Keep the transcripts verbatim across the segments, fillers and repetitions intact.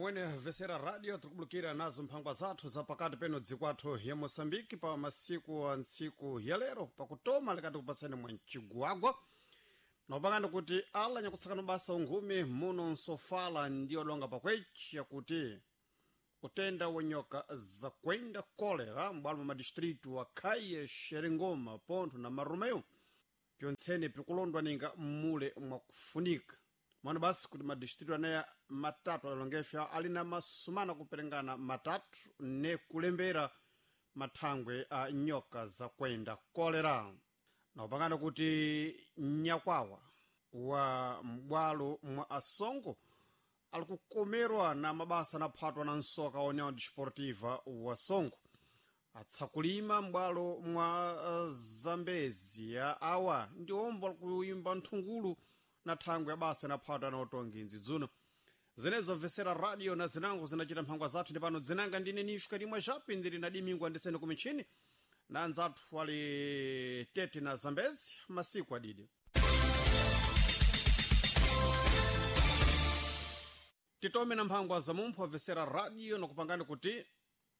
Mwene vesera radio tikubulukira nazo mphangwa zathu za pakati peno dziko athu ya Moçambique pa masiku a ntsiku ya lero pakutoma likati kupasani mwa mcigwagwa nopangani kuti ala nyakutsakana basa unkhumi muno nsofala ndiyo donga pakwechi yakuti utenda wa nyoka zakwenda kolera m'bwalo mwa madistritu wa Caia, Xerengoma, Ponto na Marromeu pyontsene pikulondwa ninga mmule mwakufunika mwana basi kuti madistritu aneya matatu adalongefya ali na masumana kuperengana matatu ne kulembera mathangwe a nyoka zakwenda kolera nakupangana kuti nyakwawa wa m'bwalo mwa asongo ali kukomerwa na mabasa anaphatwa na nsoka wa União Desportiva wa Songo atsakulima m'bwalo mwa uh, Zambezia awa ndi omwe alikuimba nthungulu na thangwe ya basa inaphatwa na utongi nzidzuno zinezo mvesera radio na zinango zinachita mphangwa zathu ndi pano dzinanga ndine nishu kalimwa chapi ndili na dimingwa ndisene kumichini na anzathu ali tete na Zambezi masiku adidi titome na mphangwa za mumpho amvesera radio nakupangani kuti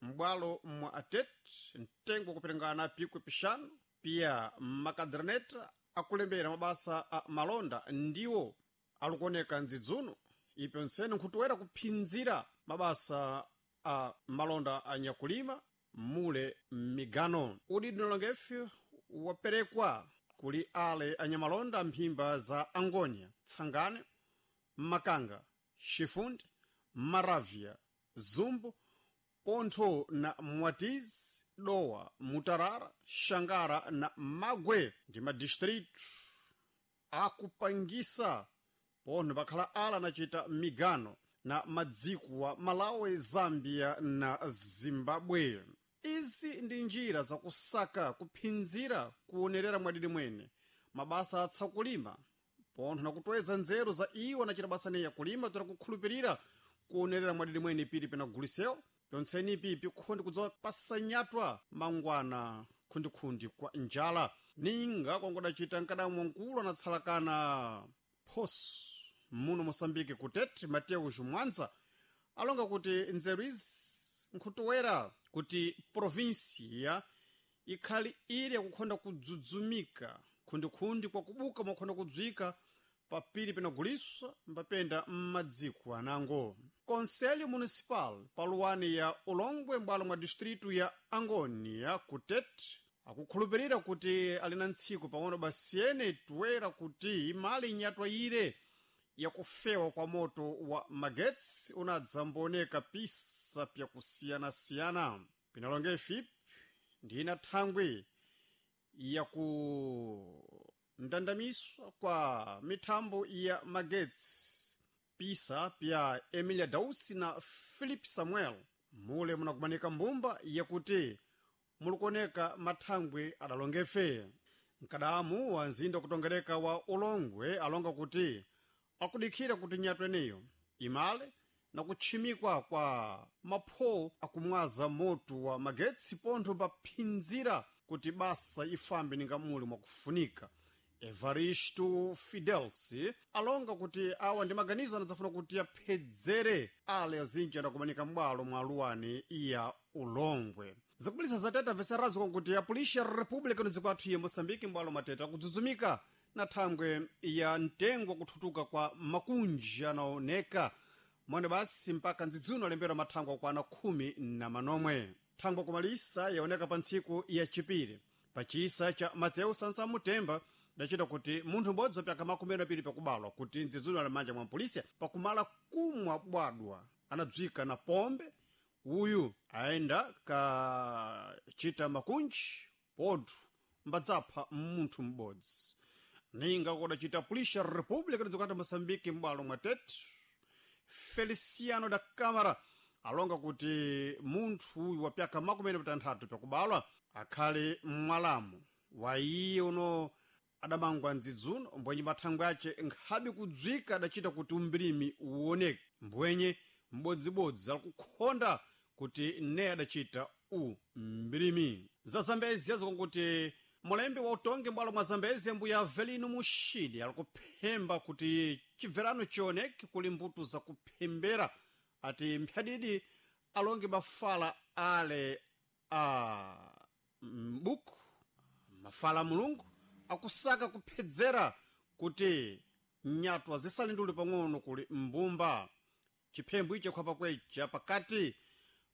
m'bwalo mwa atet mtengo wakuperengana pikwi pixanu pia makaderneta akulembera mabasa a malonda ndiwo alikuoneka ndzidzuno ipyonsene nkhutuwera kuphinzira mabasa a malonda a nyakulima mule m'migano udidi nalongefe waperekwa kuli ale anyamalonda mphimba za Angonia, Tsangane, Makanga, Chifundi, Maravia, Zumbu, Pontho na Mwatizi, Dowa, Mutarara, Xangara na Magwe ndi madistritu akupangisa pontho pakhala ala anachita migano na madziko wa Malawi, Zambia na Zimbabwe. Izi ndi njira zakusaka kuphinzira kuonerera mwadidi mwene mabasa atsakulima pontho nakutweza nzeru za iwo anachita basa neya kulima toera kukhulupirira kuonerera mwadidi mwene pili penagulisewo pyontsenipi pikhondi kudzawa pasanyatwa mangwana khundikhundi kwa njala ninga kwangodacita mkadamwa mkulu anatsalakana phoso muno Moçambique kutete Mateus Mwanza alonga kuti nzeru izi nkhutuwera kuti provinsia ikhali ili yakukhonda kudzudzumika khundikhundi kwakubuka mwakhonda kudzwika papiri penaguliswa mbapenda m'madziko anango Conselho Municipal paluwani ya Ulongwe m'bwalo mwa distritu ya Angonia kutete akukhulupirira kuti ali na ntsiku pang'ono basiyene tuwera kuti imali inyatwa ire yakufewa kwa moto wa magetsi unadzambooneka pisa pyakusiyanasiyana pinalonge ifipi ndina thangwi yakundandamiswa kwa mithambo ya magetsi pisa pya Emilia Dausi na Philip Samuel mule munakumanika mbumba yakuti mulikuoneka mathangwi adalongefe mkadamu wa mzinda kutongereka wa Ulongwe alonga kuti akudikhira kuti nyatwa eneyo imale na kutchimikwa kwa mapho akumwaza moto wa magetsi pontho paphinzira kuti basa ifambe ninga muli mwakufunika Evaristo Fidels alonga kuti awa ndi maganizo anadzafuna kuti aphedzere ale azinji adakumanika m'bwalo mwa aluwani ya Ulongwe zakubulisa zatete amveserazo konkuti apulisha República no dziko athu ya Moçambique m'bwalo matete akudzudzumika na thangwe ya mtengo wakuthutuka kwa makunji anaoneka mwene basi mpaka ndzidzuno alembera mathangwe akwana khumi na manomwe thangwe kumalisa yaoneka pa ntsiku ya chipiri pachisa cha Mateu Sansamutemba dachita kuti munthu m'bodzi wapyaka makumi apiri pakubalwa kuti ndzidzuno ali manja mwa mpolisiya pakumala kumwa bwadwa anadzwika na pombe uyu ayenda kachita makunji pontho mbadzapha munthu m'bodzi ninga kodacita pulisha República dzikati Moçambique m'bwalo mwa Tete Feliciano da Câmara alonga kuti munthu uyu wapyaka makumi ena patanthatu pakubalwa akhale mwalamu wa iye uno adamangwa ndzidzuno mbwenye mathangwe ace nkhabe kudzwika adachita kuti umbirimi uwoneke mbwenye m'bodzibodzi alikukhonda kuti ne adachita u mbirimi za Zambezi azikonkuti mulembi wa utongi m'bwalo mwa Zambezi mbuya Avelino Mushidi alikuphemba kuti chibverano chioneke kuli mbuto zakuphembera Ati mphyadidi alonge mafala ale a mbuku mafala a Mulungu akusaka kuphedzera kuti nyatwa zisalindule pang'ono kuli mbumba. Chiphembo ichi khwapa kwecha pakati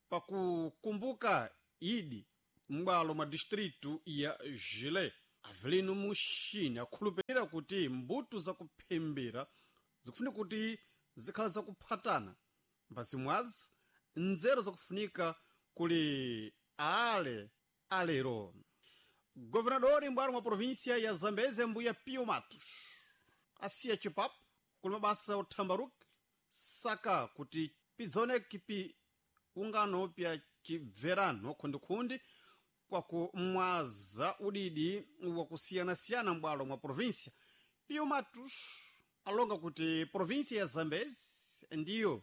pakukumbuka idi m'bwalo mwa distritu ya Jile. Avelino Muxini akhulupirira kuti mbuto zakuphembera zikufunika kuti zikhala zakuphatana mbazimwazi nzeru zakufunika kuli ale alero. Governador m'bwalo mwa província ya Zambeze mbuya Pio Matos asiya chipapo kuli mabasa othambaruki saka kuti pidzaoneke pi ungano pya chibverano khundikhundi kwakumwaza udidi wakusiyanasiyana m'bwalo mwa província. Pio Matos alonga kuti província ya Zambezi ndiyo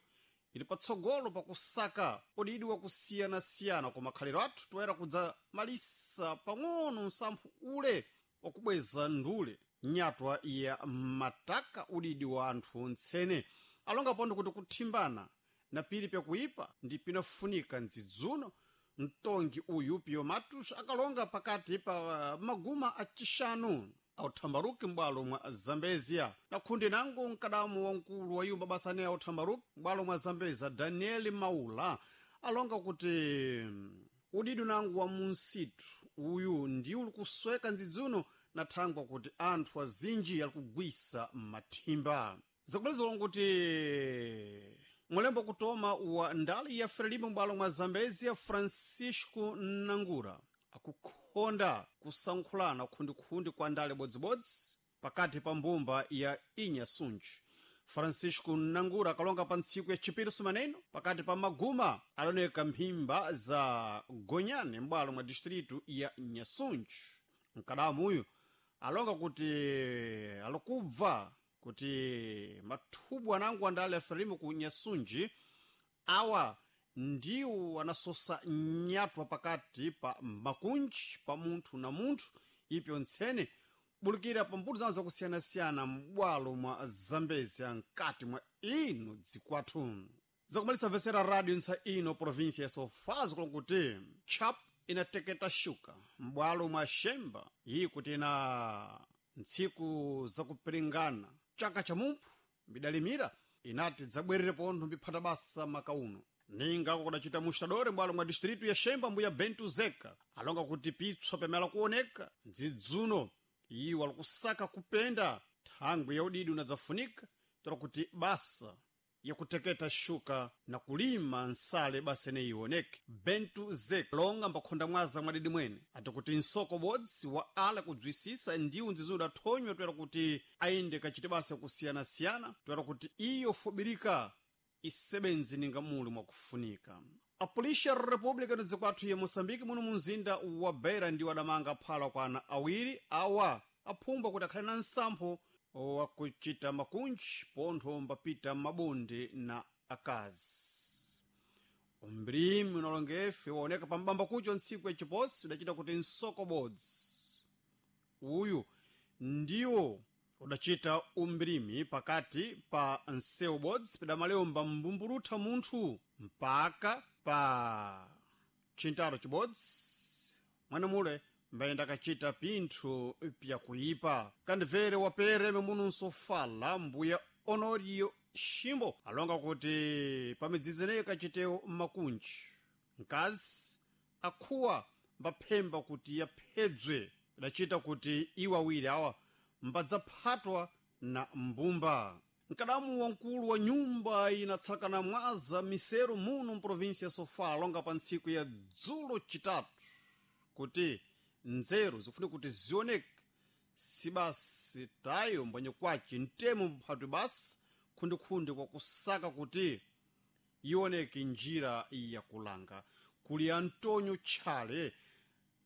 ili patsogolo pakusaka udidi wakusiyanasiyana koma khalero athu toyera kudzamalisa pang'ono msamphu ule wakubweza ndule nyatwa ya mataka udidi wa anthu ntsene. Alonga pondo kuti kuthimbana na pili pyakuipa ndi pinafunika ndzidzuno. Mtongi uyu Pio Matos akalonga pakati pa maguma acixanu authambaruki m'bwalo mwa Zambezia. Na khundi nango mkadamu wamkulu wa yumba basane authambaruki m'bwalo mwa Zambezia Daniel Maula alonga kuti udidi nangu wa munsitu uyu ndi uli kusweka ndzidzuno na thangwa kuti anthu azinji ali kugwisa mathimba. Zakulezera kuti mulembo kutoma wa ndali ya Frelimo m'bwalo mwa Zambezia Francisco Nangura akukhonda kusankhulana khundikhundi kwa ndale bodzibodzi pakati pa mbumba ya Inhasunji. Francisco Nangura akalonga pa ntsiku ya chipiri sumaneno pakati pa maguma aloneka mphimba za Gonyane m'bwalo mwa distritu ya Nyasunji. Mkadamu uyu alonga kuti alikubva kuti mathubu anango andale a Frelimo ku Nyasunji awa ndiwo anasosa nyatwa pakati pa makunji pa munthu na munthu ipyo ntsene bulikira pa mbuto zawo zakusiyanasiyana m'bwalo mwa Zambezia mkati mwa ino dzikwathu. Zakumalisa vesera radio ntsa ino província ya Sofala kuti chap inateketa shuka m'bwalo mwa Xemba iyi kuti na ntsiku zakupiringana chaka cha mumphu mbidalimira inati dzabwerere pontho mbiphata basa maka uno. Ninga kudacita mustadore m'bwalo mwa distritu ya Xemba mbuya Bento Zeka alonga kuti pitswa pamela kuoneka ndzidzuno iwo alikusaka kupenda thangwi ya udidi unadzafunika tola kuti basa yakuteketa shuka na kulima nsale basa ineyi ioneke. Bento Zeka longa mbakhonda mwaza mwadidi mwene ati kuti nsoko bodzi wa ala kudzwisisa ndiwo ndzizo udathonywa toera kuti ayende kachite basa yakusiyanasiyana toera kuti iyo fubirika isebenzi ninga muli mwakufunika. Apolisi ya República no dzikwathu ya Moçambique muno munzinda wa Beira ndiwo adamanga phala kwa ana awiri awa aphumba kuti akhale na nsampho wakuchita makunji pontho mbapita mabonde na akazi. Umbrimi unalongefe waoneka pambamba kucho ntsiku ya chiposi udachita kuti nsoko bodzi uyu ndiwo udachita umbrimi pakati pa nsewu bodzi pidamalemba mbumburutha munthu mpaka pa chintalo chibodzi mwanemule mbayenda kachita pinthu pyakuipa. Kandivere wapere memuno nsofala mbuya Honorio Ximbo alonga kuti pamidzidzi ineyi kachitewo makunji mkazi akhuwa mbaphemba kuti yaphedzwe idachita kuti iwo awiri awa mbadzaphatwa na mbumba. Mkadamu wamkulu wa nyumba inatsakana mwaza misero muno mprovinsi ya Sofala alonga pa ntsiku ya dzulo chitatu kuti nzeru zikufunika kuti zioneke sibasi tayo mbwenye kwace mtemo mphatwi basi khundikhundi kwakusaka kuti ioneke njira yakulanga. Kuli Antonio Tchale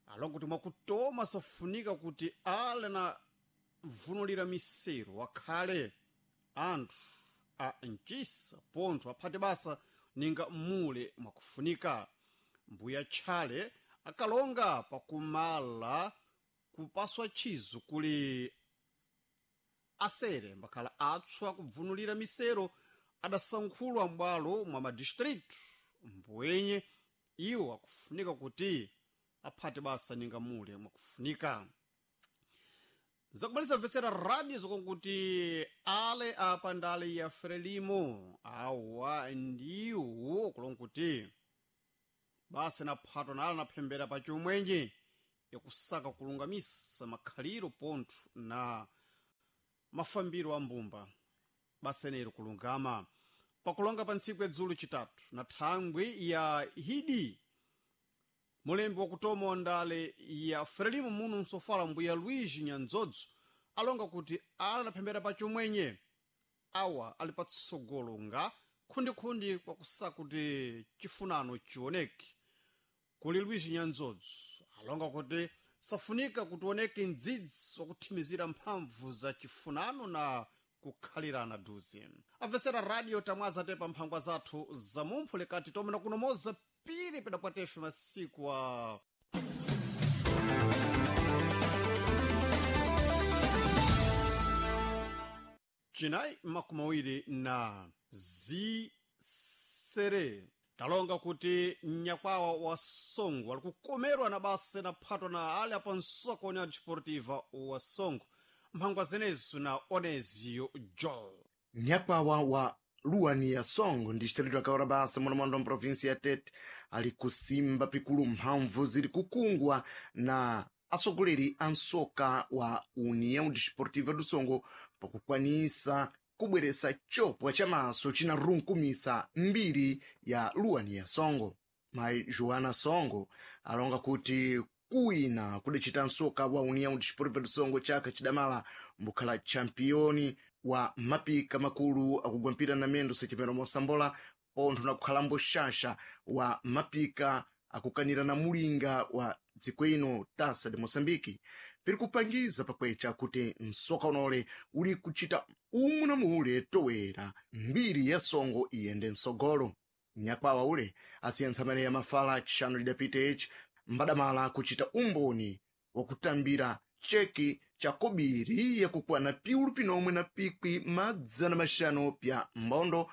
alonga kuti mwakutoma safunika kuti ale na vunulira misero akhale anthu a mchisa pontho aphate basa ninga mule mwakufunika. Mbuya Tchale akalonga pakumala kupaswa chizo kuli asere mbakhala atswa kubvunulira misero adasankhulwa m'bwalo mwa madistritu mbwenye iwo akufunika kuti aphate basa ninga mule mwakufunika. Zakumalisa mvetsera radio zokonkuti ale apa ndale ya Frelimo awa ndiwo kulonkuti basa naphatwa nala naphembera pa chomwenje yakusaka kulungamisa makhaliro pontho na mafambiro a mbumba basa nero kulungama pakulonga pa ntsiku yadzulu chitatu na thangwi ya hidi mulembi wakutoma wa ndale ya Frelimo muno msofala mbuya Luigi Nyanzodzo alonga kuti ala naphembera pa chomwenye awa ali patsogolo nga khundikhundi kwakusaka kuti chifunano chioneke. Kuli Luigi Nyanzodzo alonga kuti safunika kuti oneke mdzidzi wakuthimizira mphamvu za chifunano na kukhalirana duzi. Amvetsera radio tamwaza tepa mphangwa zathu za mumphu lekati tomena kunomoza pili pedapwatefe masiku a chinayi makumi awiri na zisere. Talonga kuti mnyakwawa wa Songo ali kukomerwa na basa naphatwa na ali apa nsoko União Desportiva wa Songo mphangwa zenezo na Onezio Joel. Nyakwawa wa luwani ya Songo distrito ya Kaurabasa munomondo mprovinsi ya Tete ali kusimba pikulu mphamvu zili kukungwa na atsogoleri a nsoka wa União Desportiva do Songo pakukwanisa kubweresa chopwa cha maso cinarunkumisa mbiri ya luwani ya Songo. Mayi Joana Songo alonga kuti kuwina kudacita nsoka wa União Desportiva do Songo chaka chidamala mbukhala championi wa mapika makulu akugwampira na mendo sechimero mosambola pontho na kukhalambo xaxa wa mapika akukanira na mulinga wa dziko ino Taça de Moçambique piri kupangiza pakwecha kuti nsoka unole uli kuchita umwe na mule towera mbiri ya Songo iyende msogolo. Nyakwawa ule asiyentsa amene ya mafala chixanu lidapita ichi mbadamala kuchita umboni wakutambira cheki cha kobiri yakukwana piulu pinomwe na pikwi madzana maxanu pya mbondo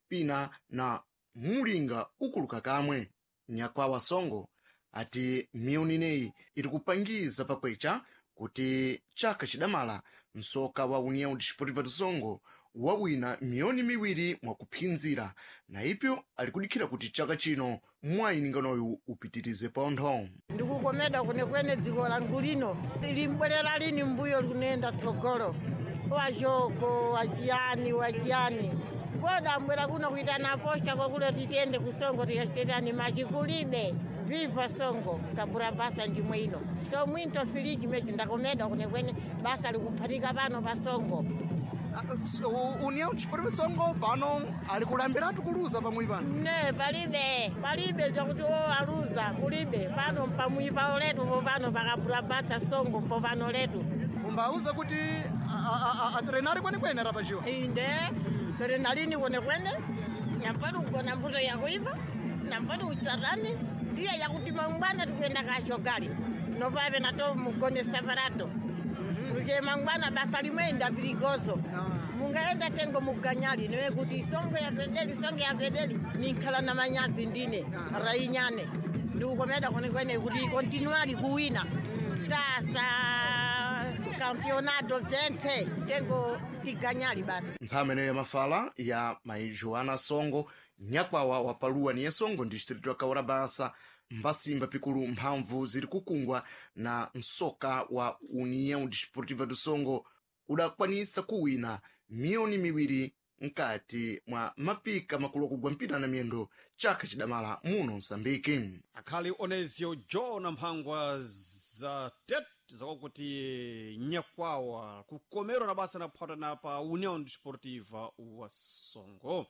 pina na mulinga ukuluka kamwe. Nyakwawa Songo ati miyoni ineyi iri kupangiza pakwecha kuti chaka chidamala nsoka wa União Desportiva do Songo wawina miyoni miwiri mwakuphinzira na ipyo ali kudikhira kuti chaka chino mwayininganoyu upitirize pontho. Ndikukomeda kwenekwene dziko langu lino limbwerera lini mbuyo likunenda tsogolo wachoko wachiyani wachiyani kodambwera kuno kuitana posta kwakulo titende kusongo tikasitetani machi kulibe vipa Songo kabura basa njimwe ino so mwinto filiji mechi ndakomeda kwenekwene basa likuphatika pano pa Songo. União Desportiva Songo pano ali kulambiratu kuluza pamwe pano ne palibe palibe zvakuti o aluza kulibe pano pamwi pawo letu popano pakabura basa Songo mpopano letu umbauza kuti atrenari kwenekwene rapachiwa inde terenalini kwenekwene nampati kugona mbuto yakuipa nampati kuchatani ndiye yakuti mangwana tikuenda kashogali nopave nato mugone separato luke mangwana basa limwe piligozo mungaenda tengo muganyali niwe kuti Songo ya pedeli Songo ya pedeli ninkhala na manyazi ndine rainyane ndikukomeda kwenekwene kuti kontinuali kuwina tasa campeonato bzentse tengo tiganyali basi. Ntsama ineyo ya mafala ya mayi Joana Songo nyakwawa wa paluwani ya Songo distrito ya Kaurabasa mbasimba pikulu mphamvu ziri kukungwa na nsoka wa União Desportiva do Songo udakwanisa kuwina miyoni miwiri mkati mwa mapika makulu akugwa mpira na miyendo chaka chidamala muno Msambiki. Akhali Onezio Joe na mphangwa za Tete zakuti nyakwawa kukomerwa na basa naphata na pa União Desportiva wa Songo.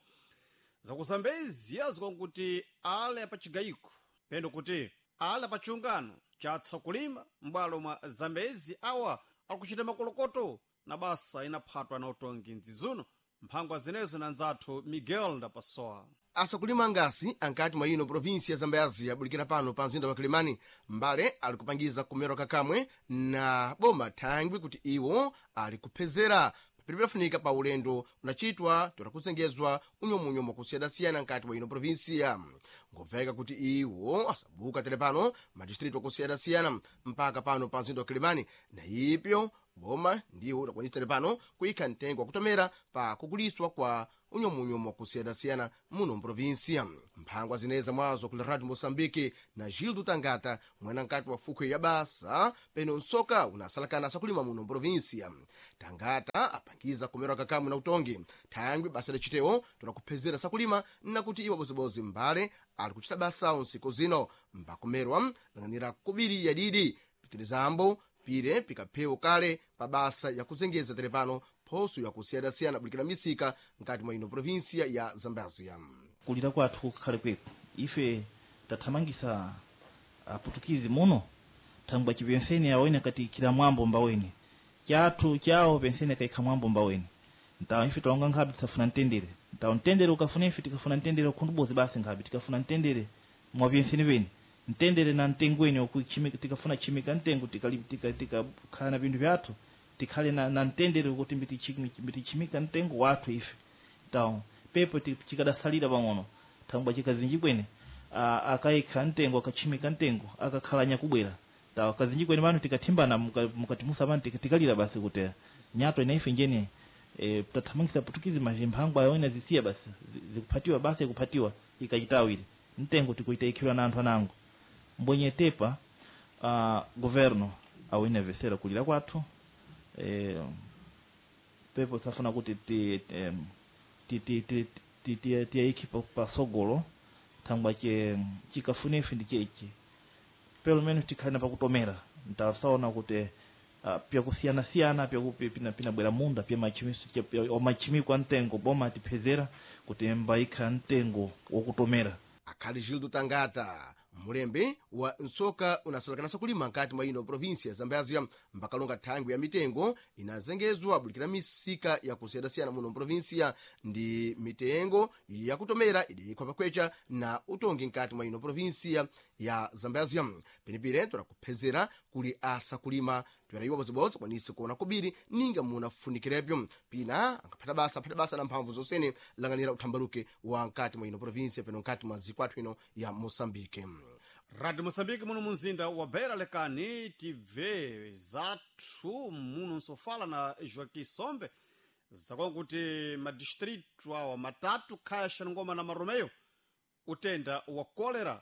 Zakuzambezia zikakuti ale apachigayiko pendo kuti ale apachungano chatsa kulima m'bwalo mwa Zambezi awa akuchita makolokoto na basa inaphatwa na utongi mdzidzuno mphangwa zinezo na nzathu Miguel Ndapasoa. Asakulima ngasi ankati mwa ino provinsi ya Zambezi abulikira pano pa mzinda wa Kilimani mbale ali kupangiza kumero kakamwe na boma thangwi kuti iwo ali kuphezera Pilipilafunika pa ulendo unachitwa torakuzengezwa unyomunyomo kusiyana-siyana nkati mwa ino provinsia. Ngobveka kuti iwo asabuka tere pano madistritu akusiyana-siyana mpaka pano pa mzinda wa Kilimani, na ipyo boma ndiwo udakwanisa tere pano kuyikha mtengo wakutomera pa kuguliswa kwa unyomunyomo wakusiyana-siyana muno mprovinsia. Mphangwa zineza mwazo kula Radio Moçambique na Gildo Tangata, mwana nkati wa fukhwe ya basa peno nsoka unasalakana sakulima muno mprovinsia. Tangata apangiza kumerwa kakamwe na utongi thangwi basa lacitewo tonakuphezera sakulima nakuti iwo bozibozi mbale ali kuchita basawo nsiku zino mbakumerwa lang'anira kubiri yadidi pitirizambo pire pikaphewo kale pa basa yakuzengeza terepano phoso yakusiyana-siyana bulikira misika nkati mwa ino provinsia ya Zambazia. Kulira kwathu kukhale kweku ife tathamangisa aputukizi muno thangwa chipenseni awene kati kila mwambo mbaweni chathu chawo penseni akaikha mwambo mbaweni ntawo ife taonga nkhabe tisafuna mtendere ntawo mtendere ukafuna ife tikafuna mtendere ukhundubozi basi nkhabe tikafuna mtendere mwapenseni peni mtendere na mtengweni okuchimika tikafuna chimika mtengo tikakhala tika, tika, na pinthu pyathu tikhale na, na mtendere kuti mbitichimika mtengo wathu ife tawo pepo chikadasalira pang'ono thangwa chikazinji kwene akaikha mtengo akachimika mtengo akakhala nyakubwera tawo kazinji kwene pano tikathimbana mukatimusa pano tikalira basi kuti nyato ina ife njene e, tathamangisa putukizi mazimphangwa ayona zisiya basi zikuphatiwa basi ikuphatiwa ikachitawire mtengo tikuita ikhilwa na anthu anango mbwenye tepa uh, governo awine vesera kulira kwathu eh, pepo tafuna kuti ti ti ti ti ti ti tiyayikhe pasogolo thangwa che chikafuna ife ndi chechi pelo menos tikhale pakutomera ntasaona kuti uh, pyakusiyana-siyana pinabwera munda pya machimiko a mtengo boma atiphezera kuti mbayikha mtengo wokutomera. Akhali Gildo Tangata, mulembe wa nsoka unasalakanasa kulima nkati mwa ino provinsia ya Zambazia, mbakalonga thangwi ya mitengo inazengezwa bulikira misika yakusiyana-siyana muno mprovinsia ndi mitengo yakutomera idiyikhwa pakwecha na utongi nkati mwa ino provinsia ya Zambazia. Penepire torakuphezera kuli asakulima toyerayiwa bodzibodzi kwanise kuona kubiri ninga munafunikirebyo pina angaphata basa aphata basa na mphamvu zonsene lang'anira uthambaluke wa nkati mwa ino provinsia peno nkati mwa zikwathu ino ya Moçambique. Radio Moçambique muno munzinda wa Beira lekani tibve zathu muno nsofala na Joaquim Sombe zakonkuti madistritu awa matatu khaya Xaningoma na Maromeo utenda wa kolera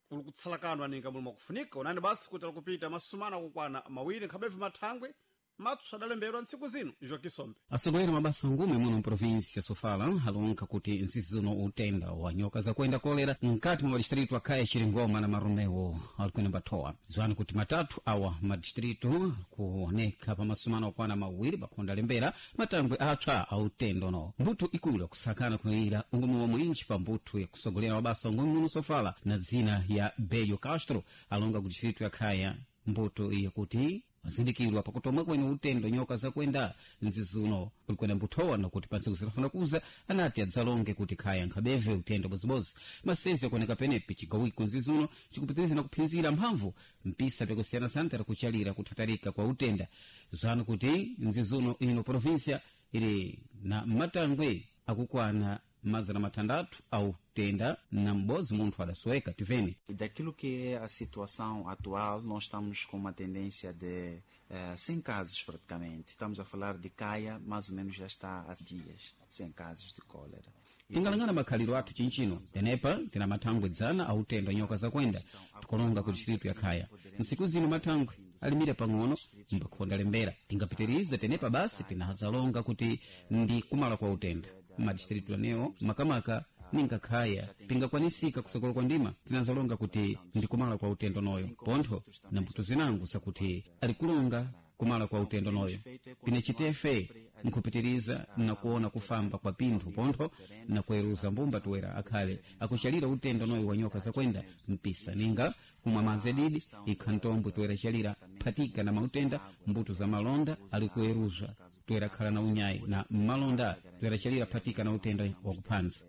kuli kutsalakanwa ninga muli mwakufunika onani basi kuti alikupita masumana akukwana mawiri nkhabevu mathangwe matsu adalemberwa ntsiku zino Joaquim Sombe. Atsogoleri mabasa ngume muno mprovinsia Sofala alonka kuti ntsisi zino utenda wa nyoka zakuenda kolera mkati mwa madistritu akhaya Chiringoma na Maromeo alikwenda mbatowa ziwani kuti matatu awa madistritu kuoneka pa masumano okwana mawiri pakhonda lembera matangwe apsa a utenda uno mbuthu ikulu yakusakana kuyira ungumu wa mwinji pa mbuthu yakusogolera mabasa ngume muno Sofala na dzina ya Bello Castro alonga ku distritu ya Khaya mbuto iya kuti azindikirwa pakutomwe kwene utendo nyoka zakwenda nzizuno kulikwena mbuthowa nakuti pansiku zitafuna kuza anati adzalonge kuti khaya nkhabeve utendo bozibozi masezi akuoneka penepi chigawiko nzizuno chikupitiriza na kuphinzira mphamvu mpisa pyakusiyanasiyana tera kuchalira kuthatarika kwa utenda zanu kuti nzizuno ino provinsia ili na matangwe akukwana mazana matandatu au tenda na m'bodzi munthu adasoweka tiveni. Daquilo que é a situação atual, nós estamos com uma tendência de eh, cem casos praticamente. Estamos a falar de Caia, mais ou menos já está há dias, cem casos de cólera. Tingalangana makhaliro athu chinchino tenepa tina mathangwe dzana autendo nyoka zakwenda tikulonga ku distritu ya Khaya ntsiku zino mathangwe alimira pang'ono mbakhonda lembera tingapitirize tenepa basi tinazalonga kuti ndi kumala kwa utenda madistritu anewo makamaka ninga khaya pingakwanisika kusokolo kwa ndima tinazalonga kuti ndi kumala kwa utendo noyo pontho na mbuto zinango zakuti alikulonga kumala kwa utendo noyo pine chitefe nkhupitiriza na kuona kufamba kwa pinthu pontho na kuweruza mbumba tuwera akhale akuchalira utendo noyo wa nyoka zakwenda mpisa ninga kumwa madzi adidi ikha ntombwe tuwera chalira phatika na mautenda mbuto za malonda ali kuweruza tuwera khala na unyayi na mmalonda tuwera chalira phatika na utenda wakuphanza.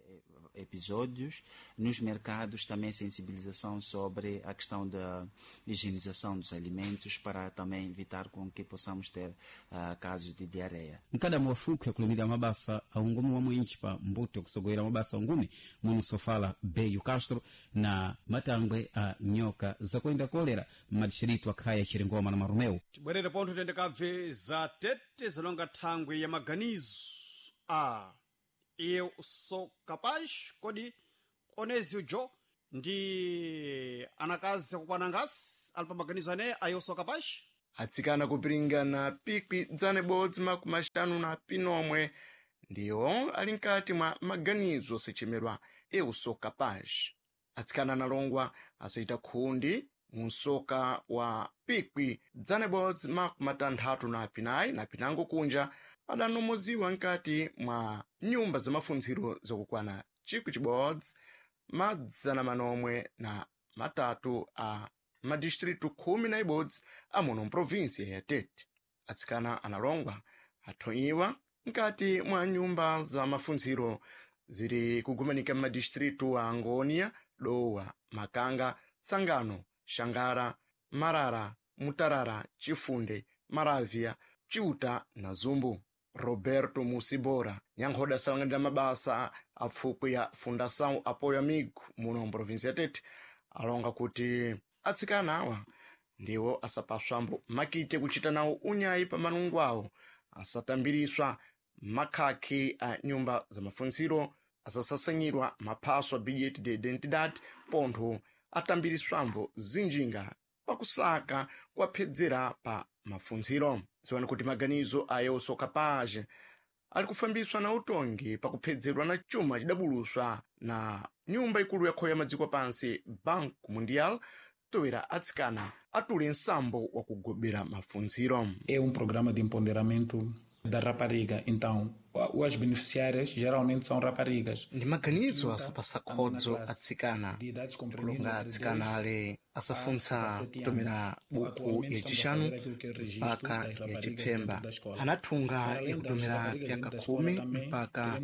episódios. Nos mercados também sensibilização sobre a questão da higienização dos alimentos para também evitar com que possamos ter uh, casos de diarreia. Mkada mwafuku yakulimira mabasa aungumi wa mwinchi pa mbuto kusogwera mabasa ungumi muno sofala Beyu Castro na matangwe a nyoka zakwenda kolera madistritu akhaya Chiringoma na Marumeu. Tibwerere pontho tende kabve za tete zalonga thangwe ya maganizo a eu sou capaz kodi onezio jo ndi anakazi akukwana ngasi ali pa maganizo aneya a eu sou capaz? Atsikana kupiringana pikwi dzana ibodzi makumi axanu na pinomwe ndiwo ali mkati mwa maganizo osechemerwa eu sou capaz. Atsikana analongwa asayita khundi mu msoka wa pikwi dzana ibodzi makumi atanthatu na pinayi na pinango kunja adanomoziwa mkati mwa nyumba za mafunziro zakukwana chikwi chibodzi madzana manomwe na matatu a madistritu khumi na ibodzi amuno mprovinsia ya Tete. Atsikana analongwa athonyiwa mkati mwa nyumba za mafunziro ziri kugumanika m'madistritu a Angônia, Dowa, Makanga, Tsangano, Xangara, Marara, Mutarara, Chifunde, Maravia, Chiuta na Zumbu. Roberto Musibora nyankhoda asalanganira mabasa a pfukwi ya Fundação Apoio Amigo muno mprovinsia ya Tete alonga kuti atsikana awa ndiwo asapaswambo makite kuchita nawo unyayi pa manungo awo, asatambiriswa makhakhi a nyumba za mafunziro, asasasanyirwa maphaso a bilhete de identidade, pontho atambiriswambo zinjinga pakusaka kuwaphedzera pa mafunziro. Dziwani kuti maganizo a eu sou capaz ali kufambiswa na utongi pakuphedzerwa na chuma chidabuluswa na nyumba ikulu yakhoya madziko pansi Banco Mundial toera atsikana atule nsambo wa kugobera mafunziro. É um programa de empoderamento da rapariga, então as beneficiárias geralmente são raparigas. Ndi maganizo asapasa khodzo atsikana, kulonga atsikana ale asafuntsa kutomera buku yacixanu mpaka yacipfemba, anathunga yakutomera pyaka khumi mpaka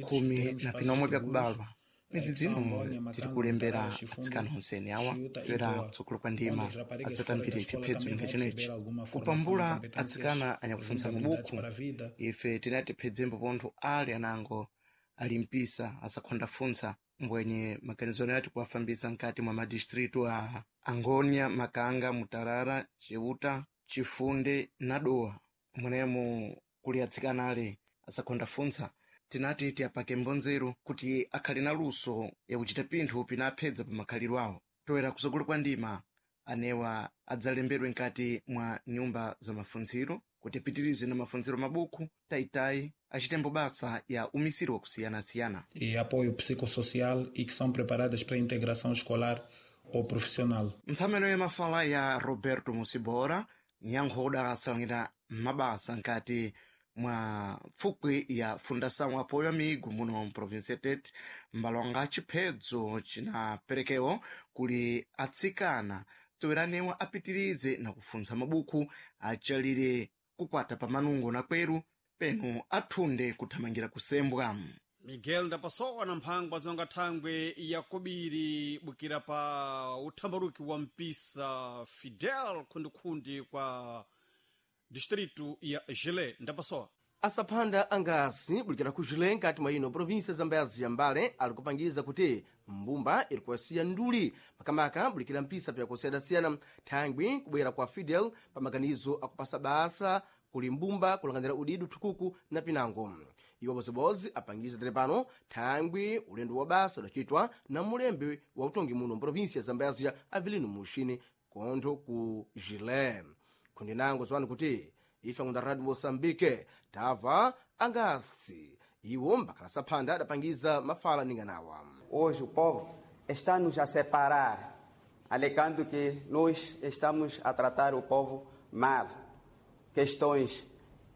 khumi na pinomwe pyakubalwa. Midzi dzino tiri kulembera atsikana onsene awa toera kutsogolo kwa ndima adzatambire chiphedzo ninga chenechi. Kupambula atsikana anyakufuntsa mabuku, ife tinati phedzembo pontho ali anango ali mpisa asakhondafuntsa mbwenye maganizano yati kuwafambisa mkati mwa madistritu a Angônia, Makanga, Mutarara, Chiuta, Chifunde na Dowa mwenemo kuli atsikana ale asakhondafuntsa tinati tiyapake mbonzero kuti akhale na luso yakuchita pinthu pinaphedza pa makhalidwe awo. Toera kutsogolo kwa ndima anewa adzalembedwe mkati mwa nyumba za mafunziro kuti apitirize na mafunziro mabuku taitayi achitembo basa ya umisiri wakusiyanasiyana E apoio psicossocial e que são preparadas para a integração escolar ou profissional. Ntsameno ya mafala ya Roberto Musibora nyankhoda asalangira mabasa nkati mwa pfukwi ya Fundação Apoio Amigo muno mprovinsia Tete mbalonga chiphedzo chinaperekewo kuli atsikana toeranewa apitirize na kufuntsa mabuku achalire kukwata pa manungo na kweru penu athunde kuthamangira kusembwa. Miguel ndapasowa na mphangwa zonga thangwe yakobiri bukira pa uthambaruki wa mpisa Fidel khundikhundi kwa distritu ya Gilé. Ndapasowa Asaphanda angasi bulikira ku Gilé nkati mwa ino província Zambezi ya Mbale ali kupangiza kuti mbumba iri kuwasiya nduli makamaka bulikira mpisa pyakusiyana-siyana thangwi kubwera kwa Fidel pa maganizo akupasa basa kuli mbumba kulanganira udidu thukuku na pinango. Iwo bozibozi apangiza tere pano thangwi ulendo wa basa udacitwa na mulembe wa utongi muno mprovíncia ya Zambezia Avelino Muxini kontho ku Gilé. Kundi nango ziwani kuti ife ngunda Radio Moçambique tava angasi iwo mbakhala saphanda adapangiza mafala ninganawa. Hoje o povo está nos a separar, alegando que nós estamos a tratar o povo mal. Questões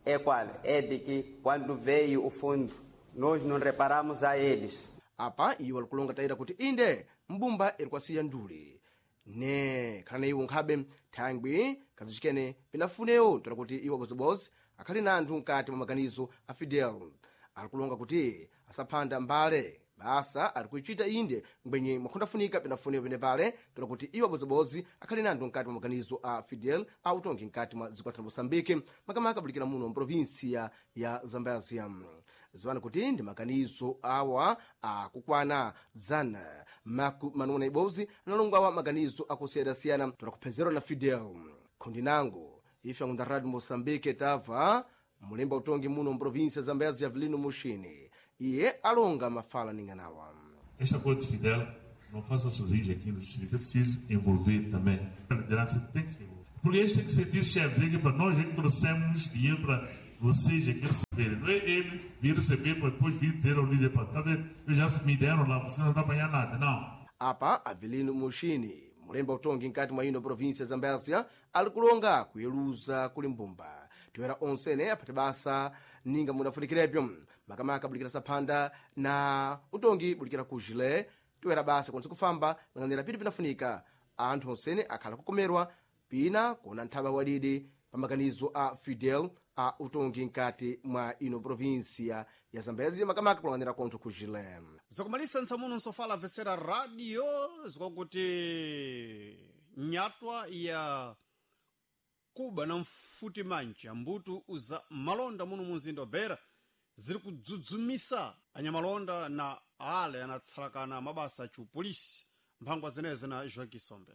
é qual? É de que quando veio o fundo, nós não reparamos a eles. Apa iwo alikulonga tayira kuti inde mbumba iri kwasiya nduli ne khala na iwo nkhabe thangwi kazicikene pinafunewo ntola kuti iwo bozibozi akhali na anthu mkati mwa maganizo a Fidel. Alikulonga kuti asaphanda mbale Basa ari kuichita inde ngwenye mwakhundafunika pinafunika pene pale tola kuti iwo abozibozi akhali nando mkati mwa maganizo a Fidel a utongi mkati mwa dziko la Moçambique, makamaka abulikira muno mprovinsia ya Zambezia. Ziwani kuti ndi maganizo awa akukwana zana maku manuna ibozi analongo awa maganizo akusiyana-siyana tola kuphezerwa na Fidel. Khundi nango ife akunda Radio Moçambique tamva mulemba utongi muno mprovinsia ya Zambezia Avelino Muxini. Iye alonga mafala ninganawa. Este acordo de Fidel não faça sozinho aqui no distrito, é preciso envolver também. A liderança tem que se envolver. Porque este tem que ser diz chefes, é que para nós é que trouxemos dinheiro para vocês aqui receberem. Não é ele vir receber para depois vir dizer ao líder, para tá vendo? Eu já me deram lá, você não está apanhar nada, não. Apa Avelino Muxini, mulemba utongi mkati mwa ino província ya Zambésia, ali kulonga kuyeluza kuli mbumba. Tiwera onsene aphate basa ninga mudafunikirebyo makamaka bulikira saphanda na utongi bulikira ku Jile. Tiwera basa konse kufamba lang'anira piti pinafunika anthu onsene akhala kukomerwa pina kuona nthaba wadidi pa maganizo a Fidel a utongi mkati mwa ino província ya Zambésia, makamaka kulang'anira kontho ku Jile. Zakumalisa ntsamuno nsofala amvetsera radio zikwakuti nyatwa ya kuba na mfuti mancha mbutu uza malonda muno munzinda wa Beira ziri kudzudzumisa anyamalonda na ale anatsalakana mabasa achiupolisi. Mphangwa zenezo na Joaquim Sombe.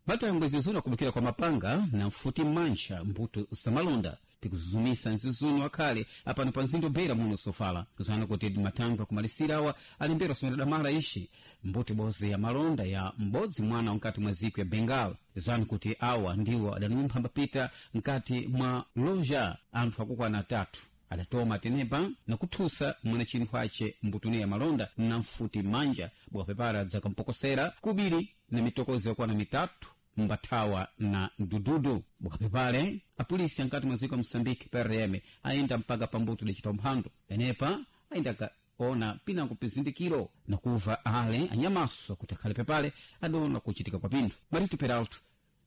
Matangwe zizuna kubukira kwa mapanga na mfuti mancha mbuto zamalonda tikuzuzumisa nzizuno akhale apano pa mzinda Beira muno sofala kuzana kuti matangwe akumalisira awa alimbera somera damala ishi mbuto boze ya malonda ya m'bodzi mwana mkati mwa ziko ya Bengal. Zani kuti awa ndiwo adanumpha mbapita mkati mwa loja anthu akukwana atatu adatoma tenepa na kuthusa mwana chinthu ace mbutune ya malonda na mfuti manja bwapepara dzakampokosera kubiri na mitokozo yakwana mitatu mbathawa na mdududu. Bukapepale apolisi ankati mwa dziko ya Moçambique P R M ayenda mpaka pambuto dacita umphando penepa ayenda kaona pinango pizindikiro na kuva ale anyamaso kuti akhale pepale adona kuchitika kwa pinthu. Marito Peralto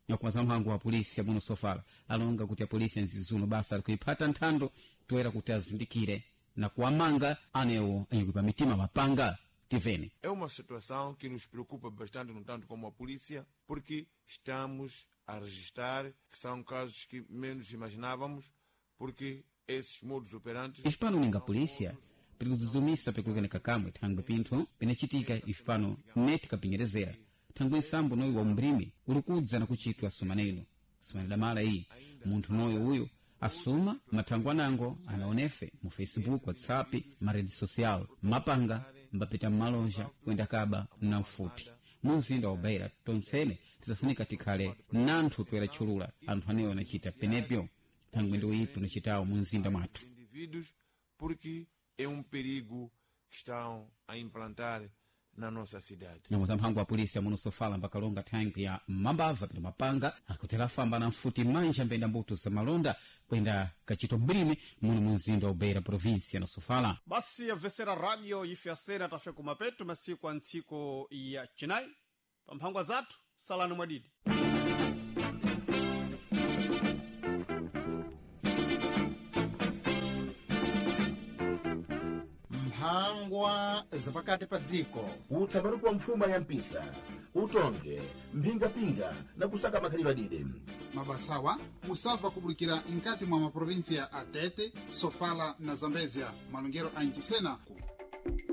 nyakumaza mphango wa polisi amuno sofala alonga kuti apolisi anzizuno basa ali kuiphata nthando toera kuti azindikire na kuwamanga anewo anyikuipa mitima mapanga. Tivene. É uma situação que nos preocupa bastante, no tanto como a polícia, porque estamos a registrar que são casos que menos imaginávamos, porque esses modus operandi... Ife pano ninga polícia pirikuzuzumisa pikulukene kamwe thangwe pinthu pinachitika ife pano neti kapinyerezera thangwe nsambo noyo wa umbrimi uli kudza na kuchitwa sumaneno sumane damala iyi munthu noyo uyu asuma mathangwe anango anaonefe mu Facebook, WhatsApp, ma rede social mapanga mbapita mmalonja kuyenda kaba na mfuti munzinda wa Beira tonsene tizafunika tikhale nanthu toera tchulula anthu anewo anachita penepyo thangwe ndi uyipi unachitawo munzinda mwathu. Indivíduos, porque é um perigo que estão a implantar na nossa cidade. Nyambo za mphango wa polisi amuno sofala mbakalonga thangwi ya mambava pita mapanga akutera famba na mfuti manja mbenda mbuto za malonda kwenda kachito mlimi muno munzinda wa Beira província na Sofala. Basi amvetsera radio ife asena tafe kumapeto masiku a ntsiko ya chinayi pa mphangwa zathu salani mwadidi. Mphangwa zapakati pa dziko. Utsaparuku wa mfuma ya mpisa utonge mphingapinga na kusaka makhalidwe adide. Mabasawa musabva kubulikira nkati mwa maprovinsia a Tete, Sofala na Zambezia malongero a Nchisena.